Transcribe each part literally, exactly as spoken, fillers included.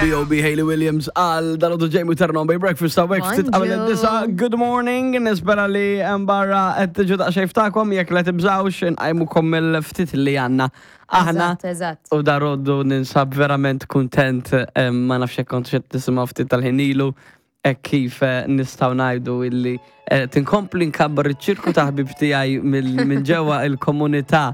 B O B. Hayley Williams għal dalgħodu Jamie Turn on by Breakfast hawnhekk ftit qabel Bonġu. id-disgħa. Good morning, nispera li hemm barra qed tiġu daqsxejn ftakom, jekk la tibżawx nqajmukom mill-ftit li għandna aħna. Eżatt, eżatt. U dalgħodu ninsab verament kuntent, em, ma nafx jekk kontux qed tisimgħu ftit tal-ħin ilu, hekk kif eh, nistgħu ngħidu illi eh, tinkompli nkabbar iċ-ċirku ta' ħbib tiegħi mill- minn ġewwa il-komunità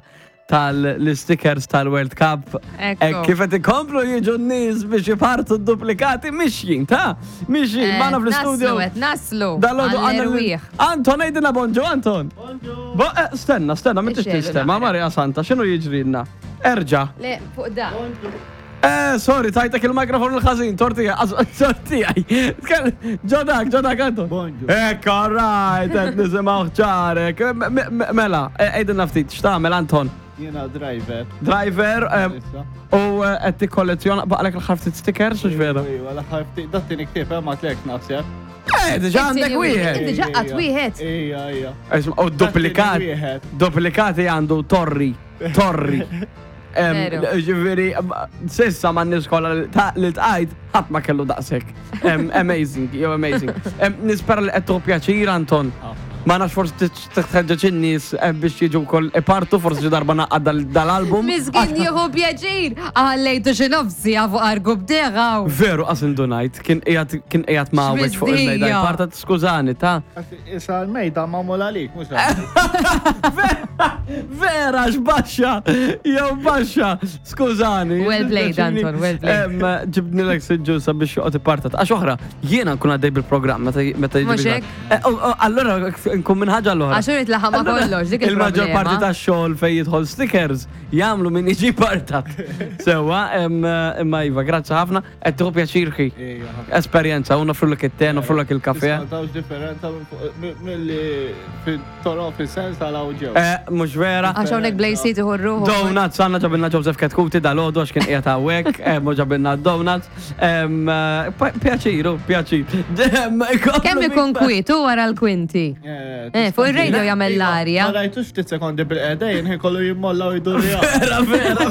tal-stickers tal-World Cup. Ekku. Hekk kif qed ikomplu jiġu n-nies biex jipartu d-duplikati mixjin, ta' mixjin, Eh, magħna fl-studio. Naslu, qed naslu. Dalgħodu għandna Għall-erwieħ. Anton, għidilna bonġu, Anton. Bo, eh, stenna, stenna, ma tix Ixxelu tistema, naqra. Maria Santa, x'inhu jiġrilna? Erġa. Le, fuq da. Eh, sorry, tajtek il-mikrofon il-ħażin, tortija, tortija. Ġodak, ġodak, Anton. Bonġu. Ekk, all right, qed nisimgħu ċarek. Mela, għidilna ftit, x'tagħmel, Anton? Jiena driver. Driver, em, Issa. u eh, qed tikkollezzjona, baqalek l-aħħar ftit stickers, u vera? Iva, l-aħħar ftit, dat-tieni ktieb, eh, ma tlek naħseb. Eh, diġà għandek wieħed. Inti ġaqqat wieħed. Ija, ija. Isma' u duplikat, Dat-tieni wieħed. duplikati għandu torri, torri. Em, Veru. Ġifieri, s'issa ma' nies kollha li ta- li tqajt, ħadd ma kellu daqshekk. Em, Amazing, yo amazing. Em, Nispera li qed tieħu pjaċir, Anton. Ah. Ma nafx, forsi tħeġġeġ in-nies eh, biex jiġu wkoll ipartu, forsi xi darba naqgħad dal- dal-album. Miskin jieħu pjaċir. Għallejtu xi nofsi għafu argu bdeħaw. Veru, qas indunajt, kien qiegħed kien qiegħed mawweġ fuq il-mejda. X'mizdija. Parta, skużani, ta' Issa l-mejda magħmul għalik, mhux għalik. Vera, x'baxxa! Jew baxxa! Skużani. Well played, Anton, well played. Em, Ġibnilek siġġu sabiex joqgħod ipartat. Għax oħra, jiena nkun għaddej bil-programm meta meta jiġi Mhux bil- hekk? Eh, oh, oh, Allora nkun minn ħaġa l-oħra. Għax urid laħam ma kollox, dik Il-maġġor parti il-problema. tax-xogħol fejn jidħol stickers jagħmlu min jiġi partat. Sewwa, em, imma iva, grazzi ħafna, qed tieħu pjaċir ħi. Ija. Esperjenza, u nofrulek it-te, nofrulek il-kafe. Tawx differenza mill-li fit-toro fis-sens tal-awġew. Eh, mhux vera. Għax hawnhekk blejsi tieħu ruħu. Donuts, għandna ġabilna Joseph Ketkuti dalgħodu għax kien qiegħed hawnhekk, eh, mhux ġabilna donuts. Em, eh, pa- Pjaċiru, pjaċir. Em, Kemm ikun kwietu wara l-kwinti? Eh, fuq il-radio jagħmel l-arja. Ma rajtux ftit sekondi bil-qeda jien kollu jimmolla u jdur. Vera, vera.